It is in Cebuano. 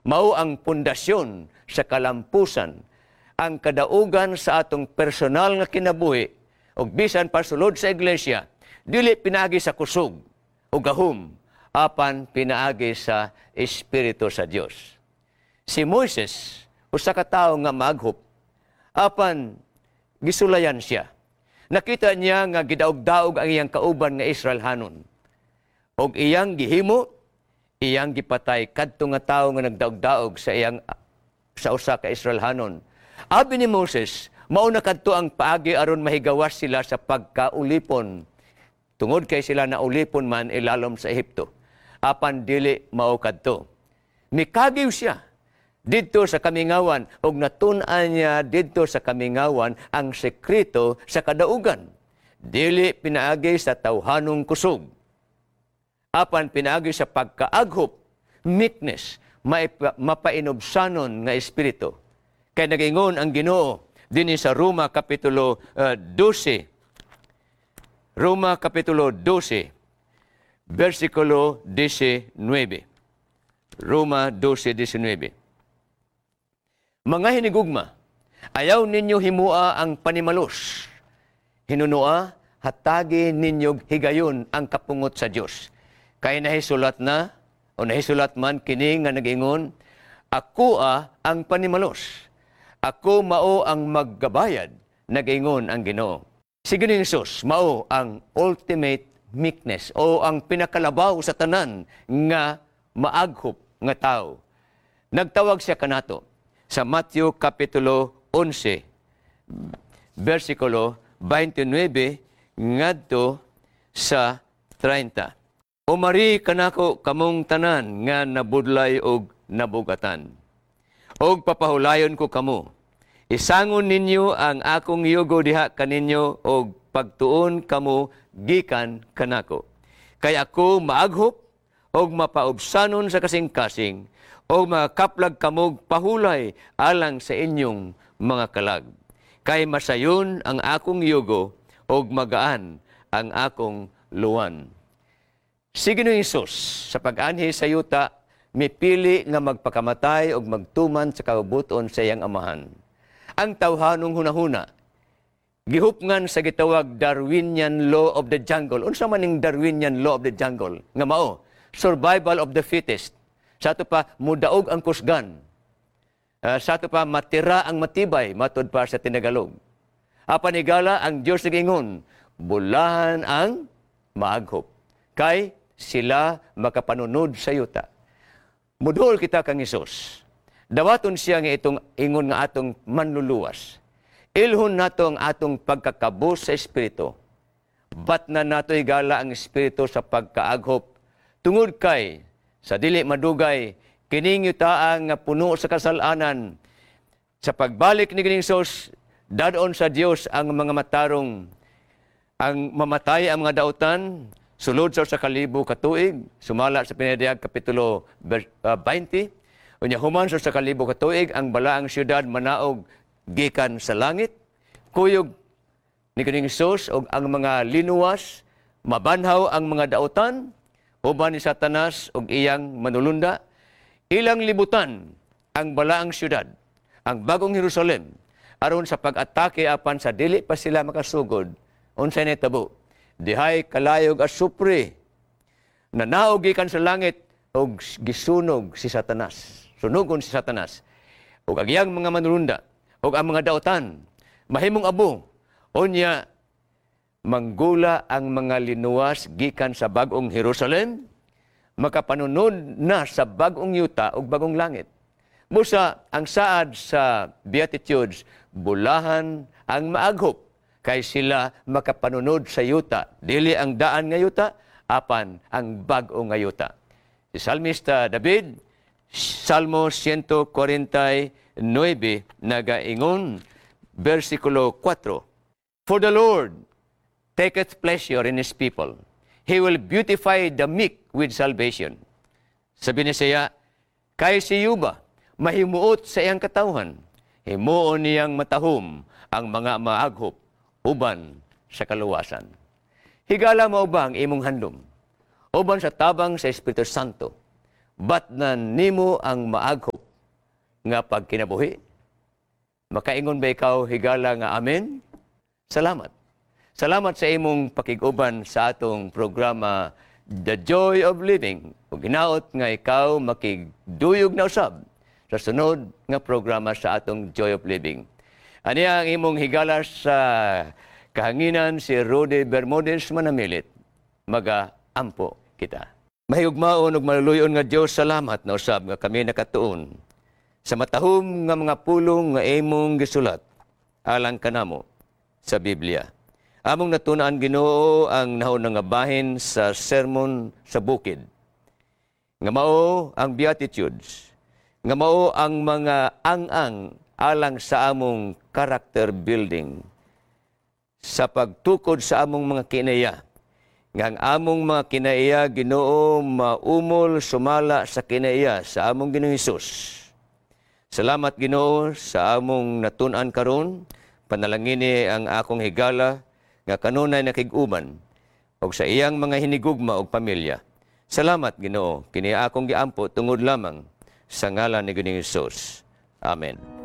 Mao ang pundasyon sa kalampusan, ang kadaugan sa atong personal nga kinabuhi ug bisan pa sulod sa iglesia, dili pinaagi sa kusog o gahom, apan pinaagi sa Espiritu sa Dios. Si Moises, usa ka tawo nga maaghop, apan gisulayan siya. Nakita niya nga gidaog-daog ang iyang kauban nga Israelhanon. Og iyang gihimo, iyang gipatay kadto nga tawo nga nagdaog-daog sa usa ka Israelhanon. Abi ni Moses, mao na kadto ang paagi aron mahigawas sila sa pagkaulipon. Tungod kay sila naulipon man ilalom sa Ehipto. Apan dili mao kadto. Mikagiw siya didto sa kamingawan ug natun-an niya didto sa kamingawan ang sekreto sa kadaugan. Dili pinaagi sa tawhanong kusog, apan pinaagi sa pagkaaghop, meekness, mapainubsanon nga espiritu. Kay nagingon ang Ginoo dinhi sa Roma kapitulo 12. Roma kapitulo 12, versikulo 19. Roma 12:19. "Mga hinigugma, ayaw ninyo himua ang panimalos. Hinunoa, hatagi ninyo higayon ang kapungot sa Dios. Kay nahisulat na, o nahisulat man kini nga nag-ingon, 'Ako ang panimalos. Ako mao ang maggabayad,' nag-ingon ang Ginoo." Si Ginoong Hesus mao ang ultimate meekness o ang pinakalabaw sa tanan nga maaghop nga tao. Nagtawag siya kanato sa Matthew Kapitulo 11, versikulo 29 ngadto sa 30. "Umari kanako kamong tanan nga nabudlay og nabugatan, og papahulayon ko kamo. Isangon ninyo ang akong yugo diha kaninyo og pagtuon kamo gikan kanako. Kay ako maaghop og mapaubsanon sa kasing-kasing, og makaplag kamog pahulay alang sa inyong mga kalag. Kay masayon ang akong yugo og magaan ang akong luwan." Si Ginoong Hesus sa pag-anhi sa yuta, mipili nga magpakamatay og magtuman sa kabubut-on sa iyang Amahan. Ang tawhanong hunahuna gihupngan sa gitawag Darwinian law of the jungle. Unsa man ning Darwinian law of the jungle? Nga mao, survival of the fittest. Sa ato pa, mudaog ang kusgan. Sa ato pa, matira ang matibay, matud pa sa Tinagalog. Apan higala, ang Diyos nagingon, bulahan ang maaghop, kay sila makapanunod sa yuta. Mudol kita kang Hesus. Dawaton siya nga itong ingon nga atong manluluwas. Ilhon nato ang atong pagkakabos sa Espiritu. Bat na nato higala ang Espiritu sa pagkaaghop. Tungod kay, sa dili madugay, kining yutaa nga puno sa kasalanan, sa pagbalik ni Ginoong Hesus, dadon sa Dios ang mga matarong, ang mamatay ang mga dautan, sulod sa 1,000 ka tuig, sumala sa Pinadayag Kapitulo 20. Unya human sa 1,000 ka tuig, ang balaang syudad manaog gikan sa langit, kuyog ni Ginoong Hesus og ang mga linuwas, mabanhaw ang mga dautan, uban ni Satanas og iyang manulunda, ilang libutan ang balaang syudad, ang bagong Jerusalem, aron sa pag-atake, apan sa dili pa sila makasugod, unsay nahitabo? Dihay kalayog asupre nanaog gikan sa langit og gisunog si Satanas. Sunugon si Satanas ug ang iyang mga manulunda ug ang mga dautan mahimong abo. Unya manggula ang mga linuwas gikan sa bagong Jerusalem, makapanunod na sa bagong yuta ug bagong langit. Busa ang saad sa Beatitudes, bulahan ang maaghop, kay sila makapanunod sa yuta. Dili ang daan nga yuta, apan ang bag-o nga yuta. Si Salmista David, Salmo 149, nagaingon, versikulo 4, "For the Lord taketh pleasure in His people. He will beautify the meek with salvation." Sabi ni siya, kay si Yuba, mahimuot sa iyang katawhan. Himuon niyang matahom ang mga maaghop uban sa kaluwasan. Higala mao ba ang imong handom? Uban sa tabang sa Espiritu Santo, batnan nimo ang maaghop. nga pagkinabuhi? Makaingon ba ikaw, higala, nga amen? Salamat. Salamat sa imong pakig-uban sa atong programa The Joy of Living. Ug hinaot nga ikaw makigduyog na usab sa sunod nga programa sa atong Joy of Living. Aniya ang imong higala sa kahanginan, si Rudy Bermudez Manamilit. Maga-ampo kita. Mahigugmaon ug maluluyon nga Dios, salamat na usab nga kami nakatuon sa matahom nga mga pulong nga imong gisulat alang kanamo sa Biblia. Among natun-an, Ginoo, ang nahauna nga bahin sa Sermon sa Bukid, nga mao ang Beatitudes, nga mao ang mga ang-ang alang sa among character building sa pagtukod sa among mga kinaiya. Nga ang among mga kinaiya, Ginoo, maumol sumala sa kinaiya sa among Ginoong Hesus. Salamat, Ginoo, sa among natun-an karon. Panalangini ang akong higala nga kanunay nakig-uban ug sa iyang mga hinigugma ug pamilya. Salamat, Ginoo, kini akong giampo tungod lamang sa ngalan ni Ginoong Hesus. Amen.